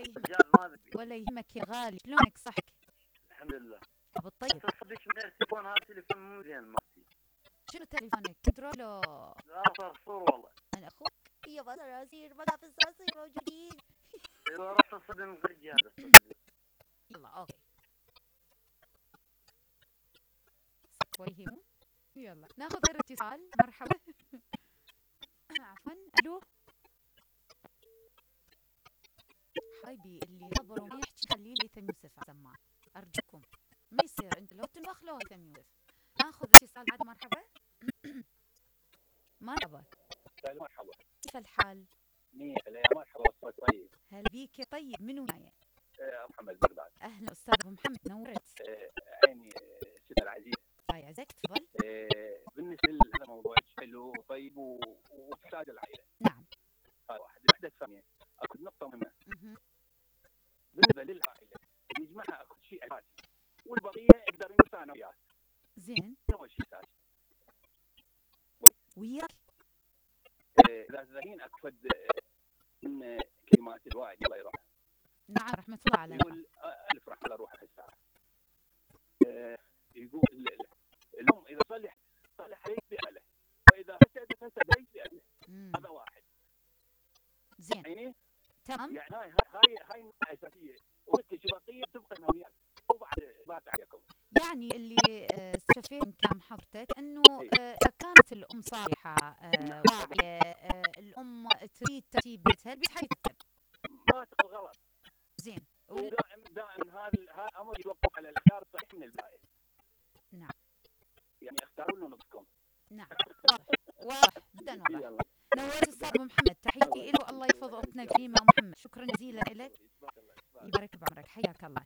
يهمك. رجال ما ذبي. ولا يهمك يا غالي، شلونك صحك؟ الحمد لله. بالطيب. تصدق من التليفون هذا تليفون مو زين مالتي. شنو تليفونك؟ كنترولو؟ لا صرصور والله. انا اخوك. يابا صراصير، بقى في الصراصير موجودين. ايوه رحت اصدم الرجال تصدق. يلا اوكي. كويسين. يلا ناخذ غير اتصال. مرحبا. عفوا. الو. حبيبي اللي يخبر وما يحكي خليه لهيثم يوسف على السماعة ارجوكم. ما يصير انت لو تنفخ له هيثم يوسف. ناخذ اتصال بعد. مرحبا. مرحبا. مرحبا. كيف الحال؟ منيح. لا مرحبا. الصوت طيب. هل بيك يا طيب؟ منو معي؟ محمد بغداد. اهلا استاذ ابو محمد، نورت. عيني ست العزيز. الله يعزك، تفضل. بالنسبه لهذا الموضوع حلو وطيب وفساد العائله. نعم. هذا واحد. الوحده الثانيه اكو نقطه مهمه. بالنسبه للعائله يجمعها اكو شيء اساسي والبقيه يقدر ينسى وياك. زين. اول شيء اساسي. وياك. اذا الحين اكفد من كلمات الوالد الله يرحمه. نعم رحمه الله عليه. يقول الف رحمه الله روحه الساعه. يقول الام اذا صلح عليك باهله واذا فسد عليك باهله. هذا واحد. زين. يعني تمام. يعني هاي النقطه اساسيه وانت شبقيه تبقى وياك وبعد عليكم. يعني اللي استفهم كلام حضرتك انه اذا كانت الام صالحه واعيه، الام تريد ترتيب بيتها، البيت حيترتب. ما تقل غلط. زين. دائما هذا امر يتوقف على الاختيار الصحيح من البائع. نعم. يعني اختاروا له نفسكم. نعم. واضح جدا واضح. نورت استاذ ابو محمد، تحياتي له. الله يحفظ اختنا الكريمه محمد. شكرا جزيلا لك. يبارك بعمرك، حياك الله.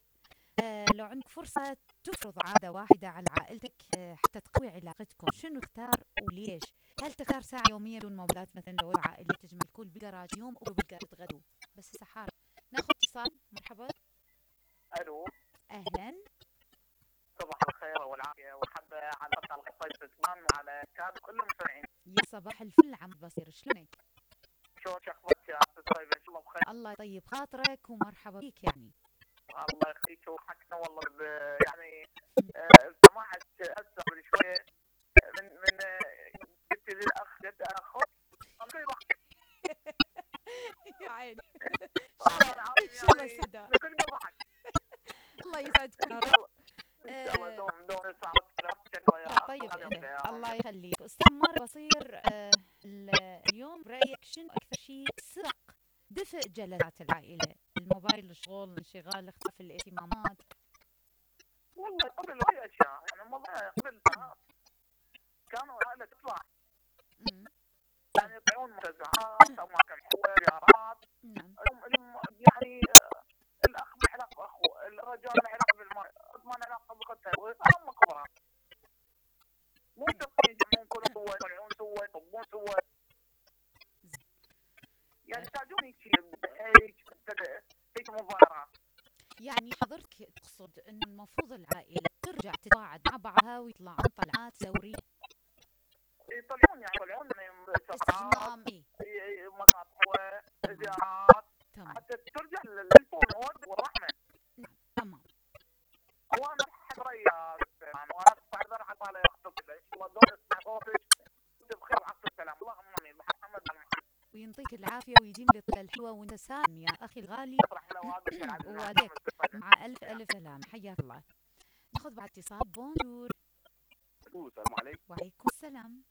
لو عندك فرصة تفرض عادة واحدة على عائلتك حتى تقوي علاقتكم، شنو تختار وليش؟ هل تختار ساعة يومية بدون موبايلات مثلا لو العائلة تجمع الكل بقراج يوم وبقى تتغدوا؟ بس هسه حار. ناخذ اتصال. مرحبا. الو. اهلا. صباح الخير والعافية والحبة على بطل الطيب سلمان وعلى كان كل المستمعين. يا صباح الفل عم بصير، شلونك؟ شلون اخبارك يا استاذ طيب؟ ان شاء الله بخير. الله يطيب خاطرك ومرحبا بيك. يعني الله يخليك وحكنا والله يعني سماحة أسف شوية من قلت للأخ جد أنا أخوك يا عيني. يعني الله يسعدك يا رب. إن شاء الله دوم طيب الله يخليك. استاذ مر بصير اليوم برأيك شنو أكثر شيء سرق دفء جلسات العائلة؟ الموبايل، الشغل، الانشغال، اختلاف الاهتمامات. والله قبل هاي أشياء يعني والله قبل كانوا العائلة تطلع يعني يطلعون منتزهات أو أماكن حلوة زيارات. نعم. يعني الأخ بيحلق بأخوه، الرجال بيحلق بالمرأة، أضمن علاقة بأختها، وهم كبار. مو تبقى يجمعون كل سوا، يطلعون سوا، يطبون سوا. يعني يحتاجون هيك مظاهرات. يعني حضرتك تقصد انه المفروض العائله ترجع تتواعد مع بعضها ويطلعون طلعات ثوريه. يطلعون استجمام. مكان حلوه، زيارات. تمام. حتى ترجع للفول والرحمه. نعم. تمام. وانا حضري وانا استحضر حتى لا يخطب ان شاء الله دور اسمع صوتك بخير وعافيه السلام. اللهم امين. محمد وينطيك العافيه ويديم لك الحلوه وانت سالم يا اخي الغالي. وعليك مع الف سلام. حياك الله. ناخذ بعد اتصال. بونجور. السلام عليكم. وعليكم السلام.